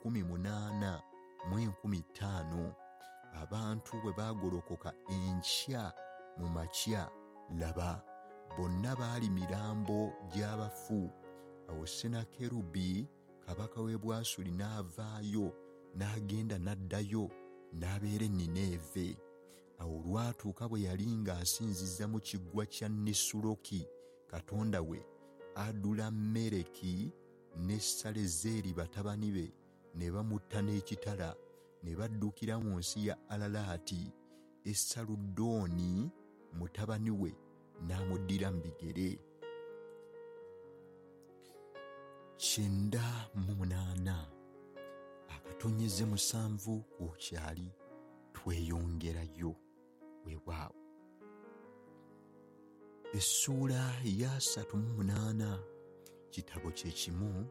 185,000. Abantu bwe baagolokoka enkya mu makya, laba, bonna baali mirambo gy'abafu. Awo Sennakerubi kabaka w'e Bwasuli n'avaayo n'agenda n'addayo n'abeera e Nineeve. Awo olwatuuka bwe yali ng'asinziza mu kiggwa kya Nisuloki katonda we, Adulammereki ne Salezeeri batabani be ne bamutta n'ekitala, ne baddukira mu nsi ya Alalaati. Esaludooni mutabani we n'amuddira mu bigere. 98 akatonyeze 7 ku kyali tweyongerayo. Weewaawo. Essuula ya 38 kitabo kye kimu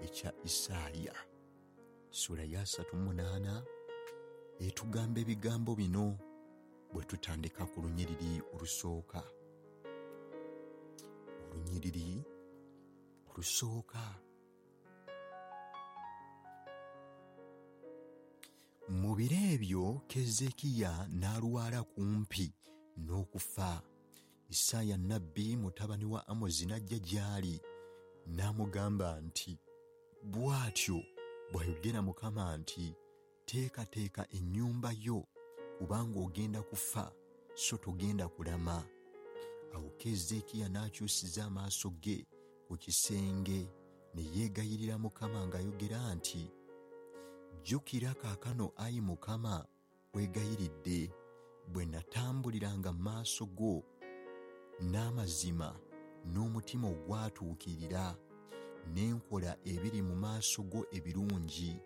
ekya Isaaya. Essuula ya 38 etugamba ebigambo bino bwe tutandika ku lunyiriri olusooka. Olunyiriri olusooka. Mu biro ebyo Keezeekiya n'alwala kumpi n'okufa. Isaaya nnabbi mutabani wa Amozi n'ajja gy'ali n'amugamba nti, bw'atyo bw'ayogera Mukama nti, teekateeka ennyumba yo, kubanga ogenda kufa, so togenda kulama. Awo Keezeekiya n'akyusiza amaaso ge ku kisenge ne yeegayirira Mukama ng'ayogera nti, jjukira kaakano, ayi Mukama, weegayiridde, bwe natambuliranga mu maaso go n'amazima n'omutima ogwatuukirira, ne nkola ebiri mu maaso go ebirungi.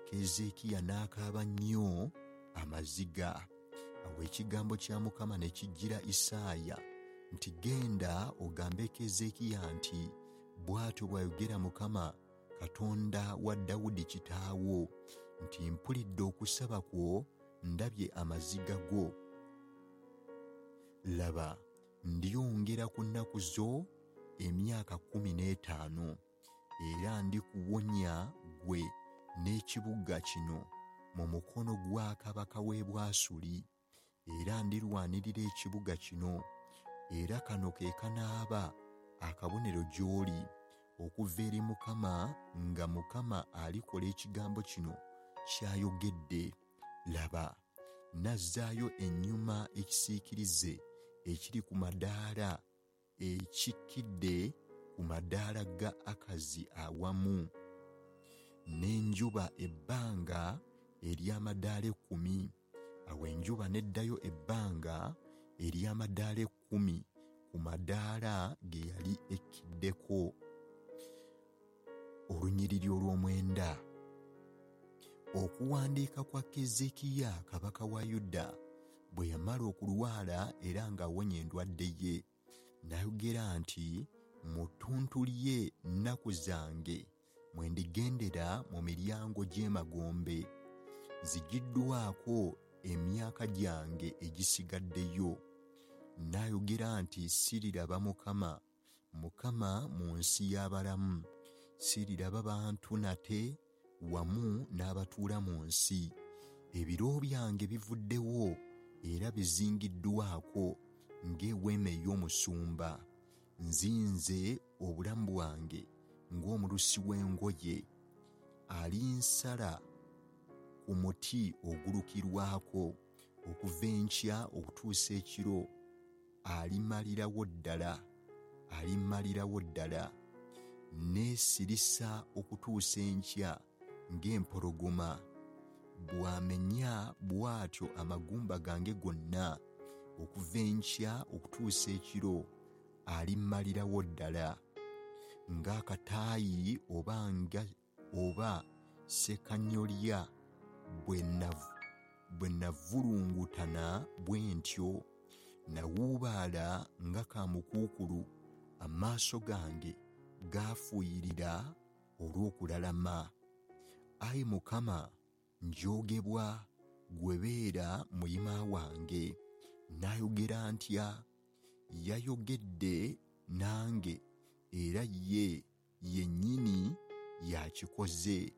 Keezeekiya n'akaaba nnyo amaziga. Awo ekigambo kya Mukama ne kijjira Isaaya nti, genda ogambe Keezeekiya nti, bw'atyo bw'ayogera Mukama Katonda wa Dawudi kitaawo nti, mpulidde okusaba kwo, ndabye amaziga go. Laba, ndyongera ku nnaku zo emyaka 15, era ndikuwonya ggwe n'ekibuga kino mu mukono gwa kabaka w'e Bwasuli, era ndirwanirira ekibuga kino. Era kano ke kanaaba akabonero gy'oli okuva eri Mukama, nga Mukama alikola ekigambo kino ky'ayogedde. Laba, nazzaayo ennyuma ekisiikirize ekiri ku madaala ekikkidde ku madaala ga Akazi awamu n'enjuba ebbanga ery'amadaala 10. Awo enjuba n'eddayo ebbanga ery'amadaala 10 ku madaala ge yali ekkiddeko. Olunyiriri olw'omwenda. Okuwandiika kwa Keezeekiya kabaka wa Yuda bwe yamala okulwala era ng'awonya endwadde ye, n'ayogera nti, mu ttuntu lye nnaku zange mwe ndigendera mu miryango gy'emagombe, nzigiddwako emyaka gyange egisigaddeyo. N'ayogera nti, siriraba Mukama, Mukama mu nsi y'abalamu, siriraba bantu nate wamu n'abatuula mu nsi. Ebiro byange bivuddewo era bizingiddwako ng'eweema ey'omusumba. Nzinze obulamu bwange ng'omulusi w'engoye, alinsala ku muti ogulukirwako okuva enkya okutuusa ekiro, alimalirawo ddala, alimalirawo ddala. Neesirisa okutuusa enkya ng'empologoma, bw'amenya bw'atyo amagumba gange gonna okuva enkya okutuusa ekiro, alimmalirawo ddala. Ng'akataayi oba ssekanyolya bwe navulungutana bwe ntyo, nawuubaala nga kamukuukulu, amaaso gange gaafuuyirira olw'okulalama. Ayi Mukama, njogebwa, ggwe beera muyima wange. Naayogera ntya? Yayogedde nange era ye yennyini yakikoze.